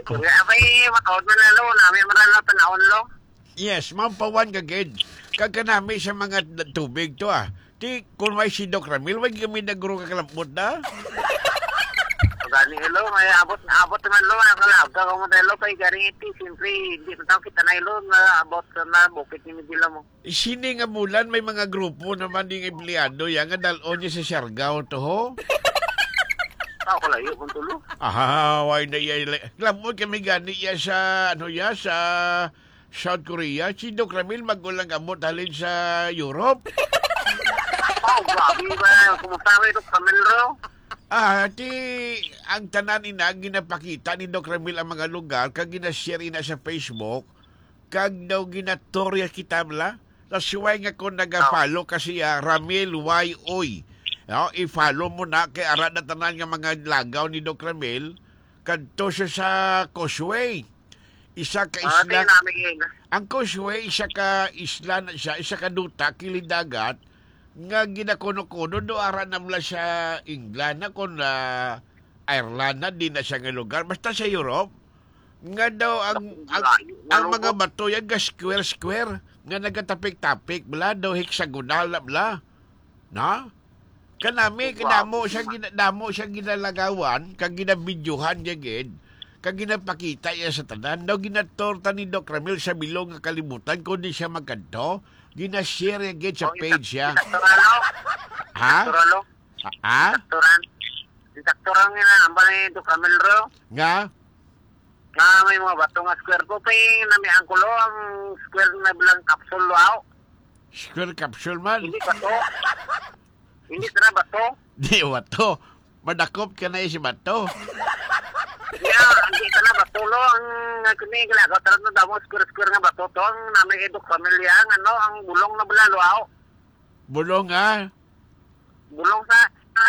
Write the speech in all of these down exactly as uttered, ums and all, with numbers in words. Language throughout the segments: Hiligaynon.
Kaya abay, makaon man na, lo. Nami man na, lo, tanawon, lo. Yes, mampawan ka gid. Kag kanami sa mga d-, tubig to, ah. Ti, kung may si Doc Ramil, way kami nagro ka kalambot na. Gani, lo, may abot, abot naman, lo, ang kalabot ka mo dahil, lo, kay gani iti, siyempre, hindi na tao kita na, lo, na abot na bukit ni Medila mo. Sini nga bulan, may mga grupo naman ding empleyado ya nga dal-on niya sa Siargao to, ho? Ako layo kung tulo. Ah, way na iya, la-, labot kami gani iya sa, ano ya, sa South Korea. Si Doc Ramil, magulang gamot halin sa Europe. Oh, grabe ba? Kumusta kay Doc Ramil, ro? Ah, ti, ang tanan ina, ginapakita ni Doc Ramil ang mga lugar, kag ginashare ina sa Facebook, kag daw ginatorya kita, bala. That's why nga kung nag-follow ka siya, Ramil Y Oy. No, i-follow mo na, kay ara na tanan nga mga lagaw ni Doc Ramil, kadto siya sa Causeway. Isa ka Ah, isla. Ang Causeway, isa ka isla na siya, isa ka duta, kilid dagat, nga ginakuno-kuno, do ara na mula sa England na, kung, ah, Ireland na, di na siya nga lugar. Basta sa Europe, nga daw ang, ang, Layo nga ang mga lugar. Bato yan, ga square-square, nga nagatapik-tapik, bla, daw hexagonal na, bla. Na? Kanami, Wow. kadamo siya gina-, damo siya ginalagawan, kag ginabidyohan niya gid, kag ginapakita niya sa tanan. Daw ginatorta ni Doc Ramil sa bilog nga kalibutan, kundi siya magkadto, ginashare niya gid sa Oh, page siya. Sakto ra, lo. Ha? Sakto ra, lo. Ha? Sakto ra. Sakto ra nga na, ang balay ni Doc Ramil, ro. Nga? Nga may mga bato nga square ko, kay namihan ko, lo, ang square na bilang capsule, lo, aw. Square capsule man. Hindi bato. Hindi ka na bato. Di bato. Madakop ka na si bato. Ya, hindi ka na bato, lo. Ang, ang kini, ginagawa, tara na damo, square-square nga bato to. Ang namin idok pamilya, ang ano, ang bulong na bulalo, aw. Bulong, ah? Bulong sa, sa,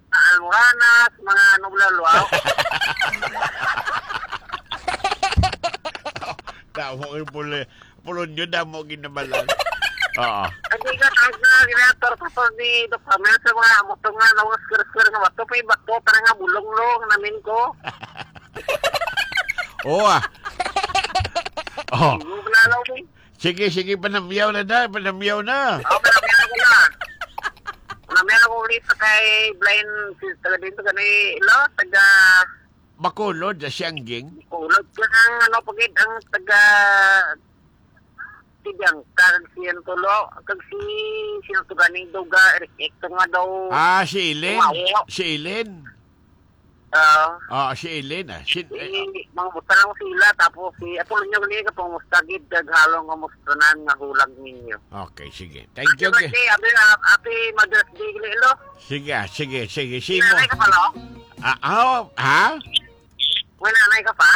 sa almohanas, mga ano, bulalo, aw. Damo yung puli. Pulon yun, damo ginabalan. Oo. Hindi ka, ang, ah, ginator sa to ni Doc Ramel sa mga amo to nga, nga mga square-square nga bato, may bato, para nga bulong, lo, ang namin ko. Oo, ah. Oh. Yung lalaw ni. Sige, sige, panamyaw na da, panamyaw na. Oh, panamyaw na ko na. Panamyaw na ko ulit sa kay blind, si, taga dito, gani, lo, taga Bacolod, sa Siangging? Bacolod. Kaya ang ano, pagid ang taga Tibyangka, kag si Antolo, kag si, sino to ganing duga, Eric Hector nga daw. Ah, si Eileen. Wow. Si Eileen. Ah. Ah, si Eileen, ah. Si, Si, eh, mga buta lang sila, tapos si Apolonio Gliga, kumusta gid, kag halong kumusta na nga hulag ninyo. Okay, sige. Thank you, Happy okay. birthday, happy, happy Mother's Day, Lilo. Sige, ah, sige, sige. Si May mo. nanay ka pa, lo? Ah, ah, oh, ha? May nanay ka pa?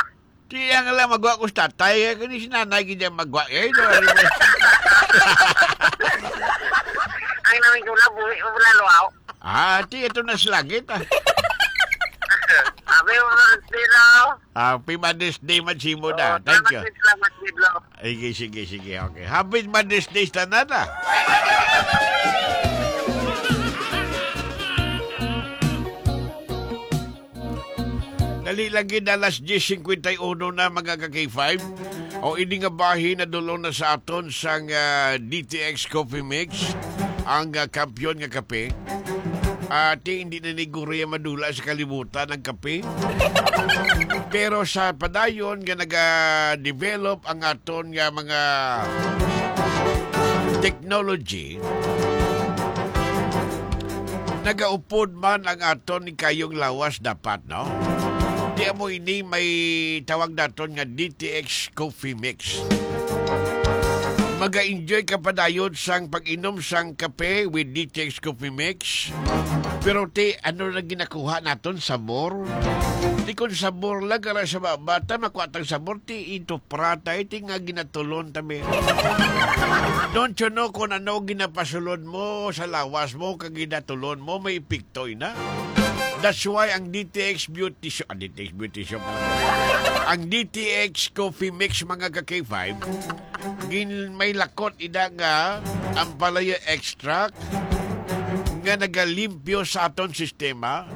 Di ang lang magwa ko sa tatay, eh, kani si nanay gid ang magwa, eh, di ba? Ang namin ko na, buhi mo na, luaw. Ah, ti, ito na sa langit, ah. Sabi mo, Mother's Day, lo. Happy Mother's Day, Matsimo, da. Oh, Thank you. salamat, salamat, Diblo. Sige, sige, sige. Okay. Happy Mother's Day sa tanan, ah. Dali lang gid, alas diyes singkwenta y uno na, mga ka-K five. O, ini nga bahin nadulong na sa aton sang, ah, D T X Coffee Mix, ang, ah, kampiyon nga kape. Ati, hindi na ni guro ya madula sa kalibutan ang kape. Pero sa padayon nga naga-develop ang aton nga mga technology, nagaupod man ang aton ni kayong lawas dapat, no? Di amo ini may tawag naton nga D T X Coffee Mix. Maga-enjoy ka padayon sang pag-inom sang kape with D T X Coffee Mix. Pero ti, ano na ginakuha naton? Sabor? Ti, kung sabor lang, kara sa ba-, bata, makuha tang sabor, ti, ito prata, iti nga ginatulon, tabi. Don't you know kung ano ginapasulod mo sa lawas mo, kag ginatulon mo, may epekto, ina? That's why ang D T X Beauty Shop, ah, D T X Beauty Shop, ang D T X Coffee Mix, mga ka-K five, gin-, may lakot ida nga ampalaya extract nga nagalimpyo sa aton sistema.